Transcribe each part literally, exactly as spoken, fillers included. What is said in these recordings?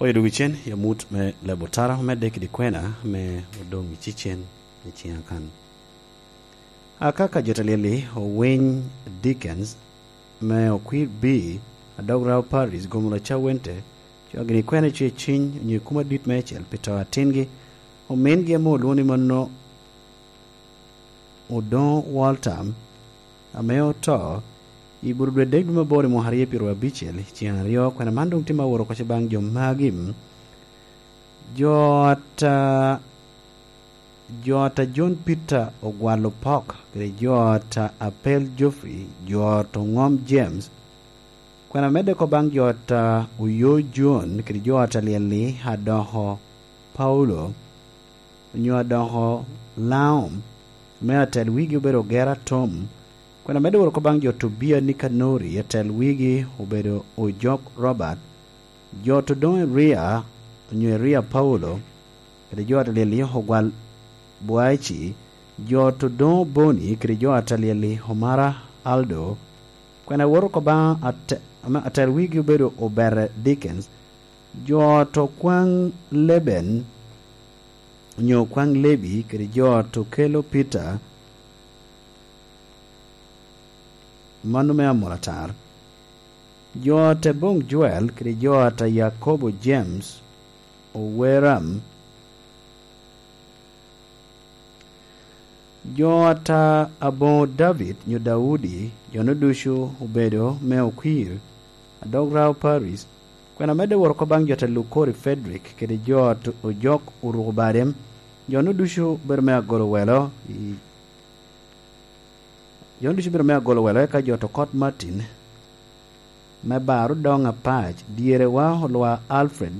Oyo dwogo cen i amut me leb otara omedde kede kwena ame odoŋ i cicen i ciŋa kan. Aka ka jo te lyel-li owiny Dickens me okwir B, Adog Rao Paris, gomo laca wente, co gini kwena cuye ciny onyo i kum adit meicel pi to atingi, omingi ame olwoŋo ni mano Odoŋo Walter, ame oto i bur dwe dek dwe me aboro i mwaka aryo pyeraryo abicel, i ciŋ aryo, kwena man doŋ tye me awot oko baŋ jo magi. Jo ata, jo ata John Peter Ogwalo Pok, kede jo ata Apel Geoffrey, jo ata Oŋom James, kwena medde oko baŋ jo ata Oyo John, kede jo ata Lyelli Adoko Paulo, onyo Adoko Laom, me atel wigi obedo Ogera Tom, kwena medde wot oko baŋ jo Tobia Nikanori, atel wigi obedo Ojok Robert, jo Todoŋ Eria, onyo Eria Paulo, kede jo ata Lyelli Ogwal Bwaci, jo Todoŋ Boni, kede jo ata Lyelli Omara Aldo, kwena wot oko baŋ ate-, ame atel wigi obedo Obere Dickens, jo to kwaŋ Leben, onyo kwaŋ Lebi, kede jo to kelo Peter, mano me amulatar. Jo te boŋ Joel, kede jo ata Yakobo James, Oweram, jo ata aboŋo David, nyo Daudi, jo-nu ducu obedo me okwir, Adog Rao Paris, kwena medde wot oko baŋ jo ata Lukori Frederick, kede jo ata Ojok Oruko Bade, jo-nu ducu obedo me agolo welo i, jo-nu ducu obedo me agolo welo, eka jo ata Okot Martin, me bar odoŋ apac, dyerewa Olwa Alfred,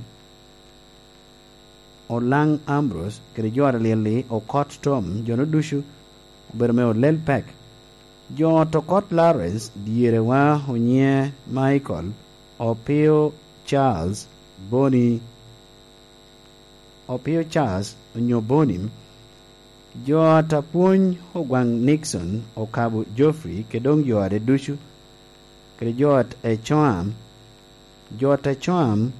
Olaŋ Ambrose, kede jo ata Lyelli Okot Tom, jo-nu ducu obedo me olel pek. Jo ata Okot Lawrence, dyerewa Onyiŋe Michael, Opio Charles, Boni, Opio Charles, onyo Boni, jo ata Pwony Ogwaŋ Nixon, Okabo Geoffrey, kede doŋ jo ade ducu, kede jo ata Ecoam, jo ata Ecoam,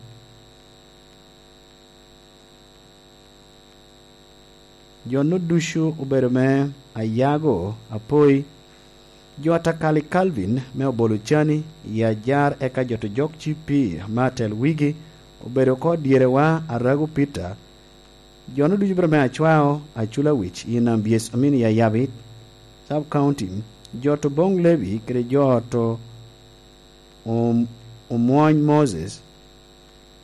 jo-nu ducu obedo me Ayago, Apoi, jo ata Kali Calvin me Obolo Cani, i Ajar, eka jo ata Ojok Cipi me atel wigi obedo oko dyerewa Arago Peter, jo-nu ducu obedo me Acwao, Aculawic, i Nambyes, I mean, i Ayabit Sub County, jo ata Oboŋ Lebi, kede jo ata Om-, Omwony Moses,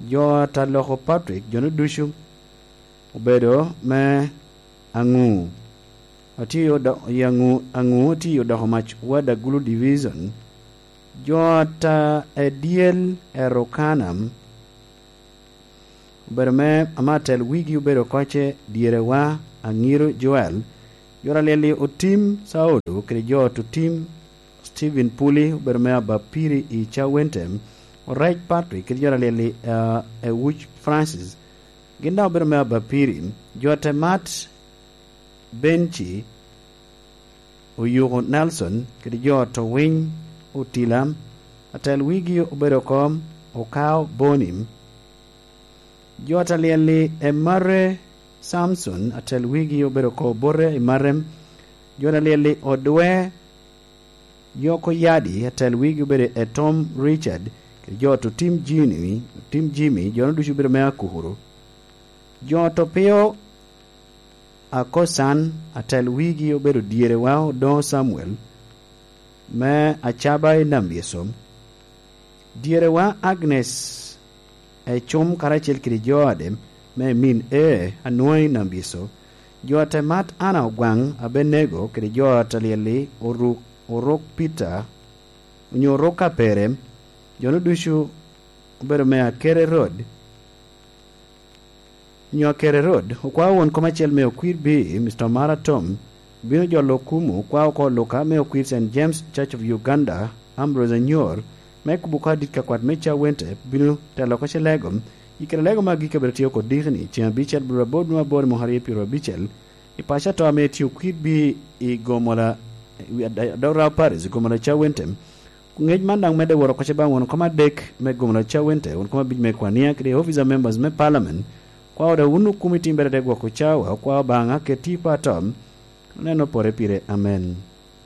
jo ata Loko Patrick, jo-nu ducu obedo me Aŋu. Atye i Odo-, i Aŋu, Aŋu atye i Odoko Mac Wad Agulu Division. Jo ata Edyel Erokanam obedo me, ame atel wigi obedo oko ce dyerewa Aŋiro Joel. Jo ata Lyelli Otim Saulo kede jo ata Otim Stephen Puli obedo me Abapiri i Cawente, Orec Patrick kede jo ata Lyelli, eh, Ewuc Francis, gin daŋ obedo me Abapiri. Jo ata Mat Benci, Oyuko Nelson, kede jo ata Owiny Otila, atel wigi obedo oko Okao Boni. Jo ata Lyelli Emare Samson, atel wigi obedo oko Obote Emare. Jo ata Lyelli Odwe Yoko Yadi, atel wigi obedo Etom Richard, kede jo ata Otim Jimmy, Otim Jimmy, jo-nu ducu obedo me Akukuru. Jo ata Opio Akocan, atel wigi obedo dyerewa Odoŋo Samuel, me Acaba i Nambyeso. Dyerewa Agnes Ecum karacel kede jo ade me min E Anwoŋ i Nambyeso. Jo ata Mat Ana Ogwaŋ Abenego kede jo ata Lyelli Oruk, Oruk Peter, onyo Oruk Apere, jo-nu ducu obedo me Akere Road, onyo Akere Road. Okwao won kom acel me Okwir B, Mister Omara Tom, obino jolo okumu, okwao oko Luka me Okwir Saint James Church of Uganda, Ambrose Anyor, me kubo oko adit ka kwat me Cawente, obino telo oko ce lego. I kare lego me agikki abino tye oko dikni, ceŋ abicel, bur aboro dwe me aboro i mwaka aryo pyeraryo abicel, i paco ato ame tye Okwir B i Gomola, i Ad-, Adora Paris, i Gomola Cawente. Ngec man daŋ medde woro koca baŋ won kom adek me gomna cawente, won kom abic me kwania kede officer members me parliament. Kwao da wun okumi timbere de gwoko cawa, okwao baŋa keti patom. Oneno pore pire. Amen.